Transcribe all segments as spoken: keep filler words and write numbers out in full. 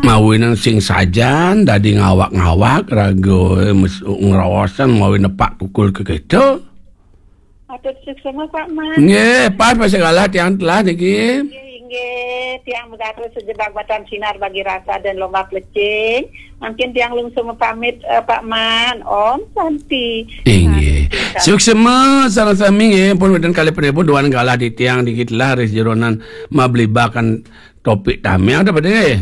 Mawinan sing sajan dadi ngawak-ngawak raga, eh, mes-, ngraosan mawi nepak kukul ka kita. Matur suksma, Pak Man. Nggih, pas masih kalah tiang telah niki. Nggih, inggih. Tiang megatus sejebak batan sinar bagi rasa dan lomba plecing. Mungkin tiang lungsur mapamit, eh, Pak Man. Om Santi. Inggih. Santi, Santi. Suksma sareng sami nggih, pun wénten kalih pripun duan kalah di tiang niki telah ring sajeroning mablibakan topik tamiang ta, Pak, nggih?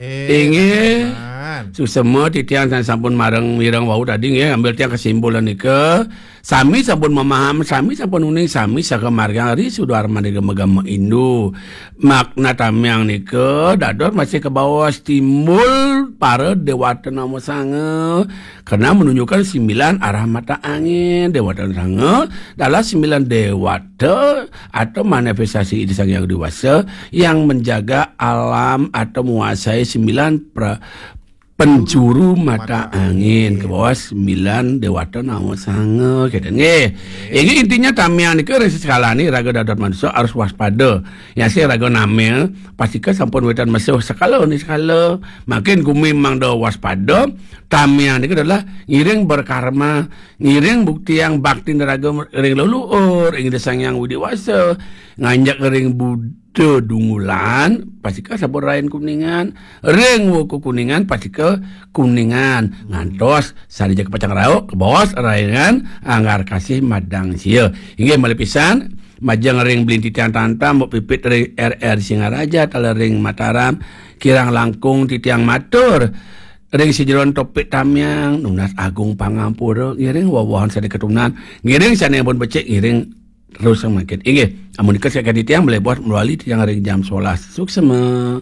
Eh, inggih. Teman. Suksma titiang sampun mareng mireng wau tadi nggih, ambil tiang kesimpulan nika. Sami sampun memaham, sami sampun uning, sami sakemargiang ri sudarman nika magama Hindu. Makna tamiang nika dados masih kabaos timbul para dewata nama sanga. Karena menunjukkan sembilan arah mata angin, dewata sanga adalah sembilan dewata atau manifestasi Ida Sang Hyang Widi Wasa yang menjaga alam atau menguasai sembilan pra-, penjuru mata angin, ke bawah sembilan dewata nama sanga, gitu. Nggih. Ini intinya tamiang nika ring sekalane raga dados manusia harus waspada. Ya sih raga namil, pastika sampun wénten mesih sekala ni sekala. Makin gumi mangda waspada, tamiang nika adalah ngiring berkarma, ngiring buktiang bakti raga ring leluhur, ring Ida Sang Hyang Widi Wasa, nganjak ring Buddha Dungulan, pastika sampun rain Kuningan, ring Wuku Kuningan, pastika Kuningan, ngantos sane jaka pacang rauh, kebos rainan anggar kasih madang sia. Inggih malih pisan, majeng ring Blinti Tiang Tantam, Mbok Pipit ring R R Singaraja, taler ring Mataram, kirang langkung titiang matur. Ring sajeroning topik tamiang, nunas agung pangampura, ngiring wewehan sane katunan, ngiring sane ampun becik, ngiring terus mangkin. Inggih, amun nika sakadi tiang malih bos mawali tiang ring jam sebelas. Suksma.